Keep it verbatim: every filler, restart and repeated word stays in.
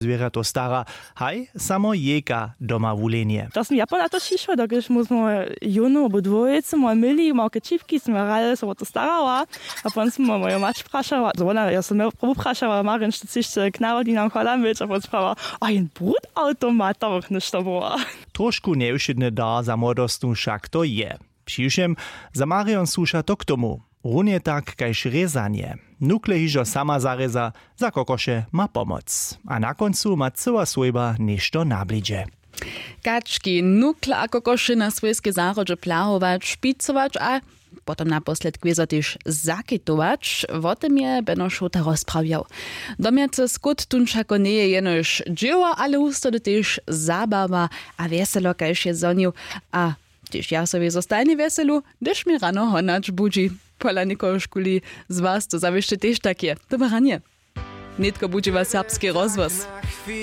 zwěrjato stara, haj samo jejka doma wulenje. To smy ja pola to šišła, dokelž mu smo jónu abo dwójce moje myli małke čipki smy hrali so wo to starała. A pon smy moju mać prašała, wona ja so mje probu prašała, marjen što chceš k narodninam chola myć, a pon sprała, a jen brud automat tam něšto była. Trošku njewšědny dar za młodostnu wšak to je. Přiwšěm, za marion słuša to k tomu, runje tak kaž rězanje. Nukle hižo sama zarěza, za kokoše ma pomoc. A na kóncu ma cyła swójba něšto na blidźe. Kački, nukle a kokoše na swójskej zahrodźe plahować, špicować a potom naposledk wězo tež zakitować, wo tym je beno šołta rozprawjał. Domjace skót tón wšako njeje jenož dźěło, ale husto to tež zabawa a wjeselo kaž je zhonił. A tež ja so wězo stajnje wjeselu, hdyž mi rano honać budźi. Pola někoho škuli z was to zawěsće tež tak je. Dobre ranje. Nětko budźi was serbski rozhłos.